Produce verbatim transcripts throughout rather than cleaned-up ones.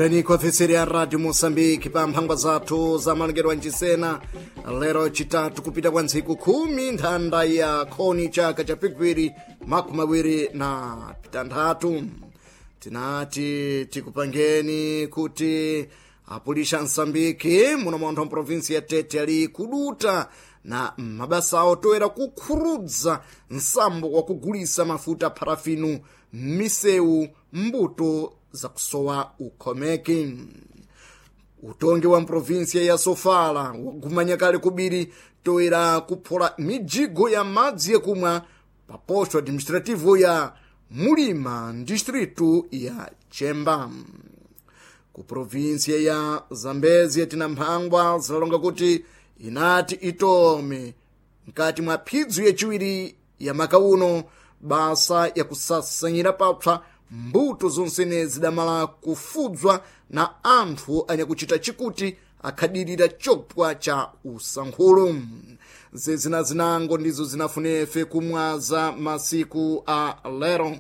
Tikulandireni kwa ofeseri ya Radio Mosambiki pa mphangwa zathu za malengedwe ancisena lero chitatu kupita kwa ntsiku khumi nthanda ya khoni chaka cha pikwiri makumi awiri na pitanthatu. Tinati tikupangeni kuti apulisha Msambiki muno montho mprovinsi ya Tete ali kuduta na mabasa awo toera kukhurudza nsambo wa kugulisa mafuta parafinu m'misewu mbuto zakusowa ukhomeki. Utongi wa mprovinsia ya Sofala wagumanya kale kubiri toera kuphola mijigo ya madzi yakumwa pa posto administrativo ya Mulima distritu ya Chemba. Ku provinsia ya Zambezia tina mphangwa zilalonga kuti inati itome mkati mwa phidzu yaciwiri ya maka uno basa yakusasanyira papsa mbuto zonsene zidamala kufudzwa na anthu anyakuchita chikuti akhadirira chopwa cha usankhulu. Zezina zinango ndizo zinafunefe kumwaza masiku a lero.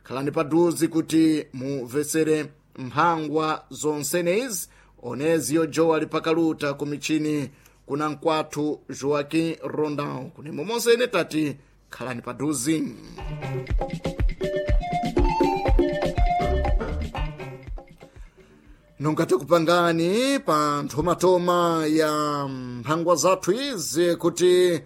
Khalani paduzi kuti mumvesere mphangwa zonsene izi oneziyo jowa lipakaluta ku michini kuna mkwathu Joaquim Rondão. Kunemo monsene tati khalani paduzi. Nonga tikupangani pa nthomatoma ya mphangwa zathu izi kuti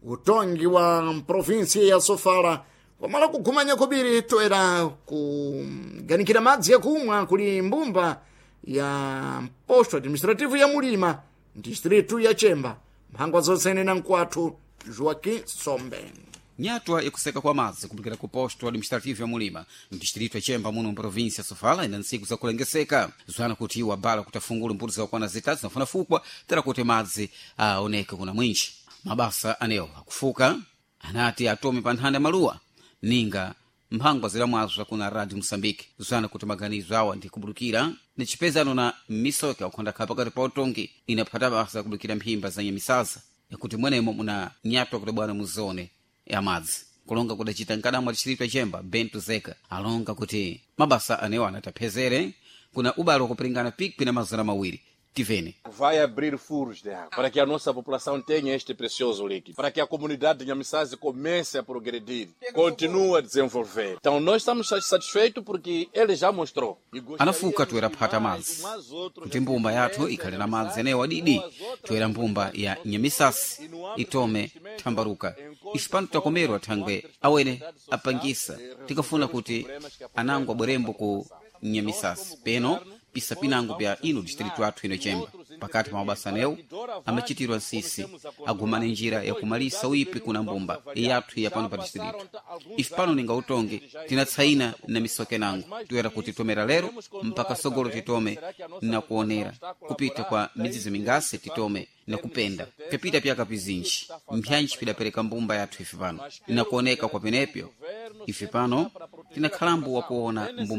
utongi wa provinsi ya Sofala wamala kugumanya kubiri toera kuganikira madzi yakumwa kuli mbumba ya posto administrativo ya Mulima distritu ya Chemba. Mphangwa zonsene na mkwathu Joaquim Sombe. Nyatwa ikuseka kwa madzi kupikira ku posto administrativo ya Mulima mdistrito ya Chemba muno mprovinsia ya Sofala ina ntsiku zakulengeseka zwana kuti iwo abala kutafungula mbuto zakwana zitatu zinafuna fukwa tera kuti madzi aoneke kuna mwinji. Mabasa anewo akufuka anati atome pa nthanda ya maluwa ninga mphangwa zilamwazwa kuna Radio Mosambike zwana kuti maganizo awa ndi kubulukira ni chipezano na misoka ukhondakhala pakati pa utongi inaphata basa kubulukira mphimba za nyamisaza yakuti mwenemo muna nyatwa kuti bwana muzone ya madzi kulonga kudacita nkadamwa distrito ya Chemba Bento Zeka alonga kuti mabasa anewo anataphezere kuna ubalo wakupiringana pikwi na mazana mawiri. Tivene. Vai abrir furos de água para que a nossa população tenha este precioso líquido, para que a comunidade de Nhamissase comece a progredir, continue a desenvolver. Então nós estamos satisfeitos porque ele já mostrou. E gostaríamos Anafuka toera que phata mais, madzi mais outros kuti mbumba yathu ikhale na madzi anewo adidi toera mbumba ya Nyamisasi itome thambaruka. Ife pano takomerwa thangwe awene apangisa tikafuna kuti anango abwerembo ku Nyamisasi peno pisa pinango pya ino distrito athu ino Chemba. Pakati pa mabasa anewo amachitirwa nsisi agumane njira yakumalisa uipi kuna mbumba yathu ya pano pa distrito. Ife pano ninga utongi tinatsaina na misoke nango toera kuti tomera lero mpaka sogolo titome na kuonera kupita kwa midzizi mingase titome na kupenda pyapita pyaka pizinji mpyanji pidapereka mbumba yathu ife pano na kuoneka kwa penepyo ife pano tinakhalambo wakuona mbumba.